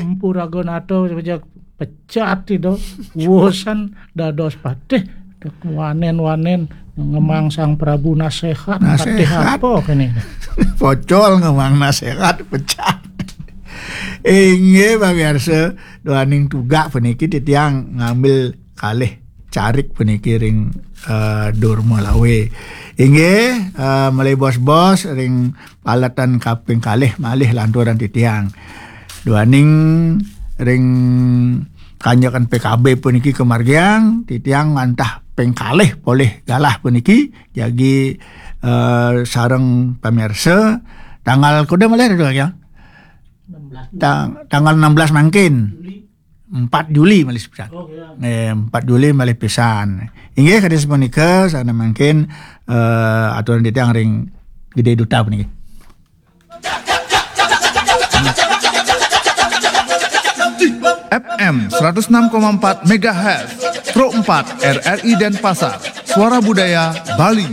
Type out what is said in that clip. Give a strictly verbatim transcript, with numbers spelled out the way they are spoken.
Empu Raga Nata, pecat itu. Wusan dados patih. Wanen-wanen ngemang Sang Prabu nasehat. Patih apa kene? Pocol ngemang nasehat, pecat. Inggih, pamirsa, duaning tugak puniki titiang ngambil kalih carik puniki ring, eh, Durma Lawe. Inggih, eh, malih bos-bos ring paletan kaping kalih malih lanturan titiang. Duaning ring kanjekan P K B puniki kamargiang, titiang wantah ping kalih polih galah puniki, jagi, eh, sareng pamirsa. Tanggal kuda malih, Kang? Tang-, tanggal enam belas mangkin. Empat Juli malih pisan. Eh, empat Juli malih pisan. Inggih, kadi sapunika, sané mangkin, eh, aturan titiang ring Gedé Duta puniki. F M seratus enam koma empat megahertz, Pro empat R R I Denpasar, Suara Budaya Bali.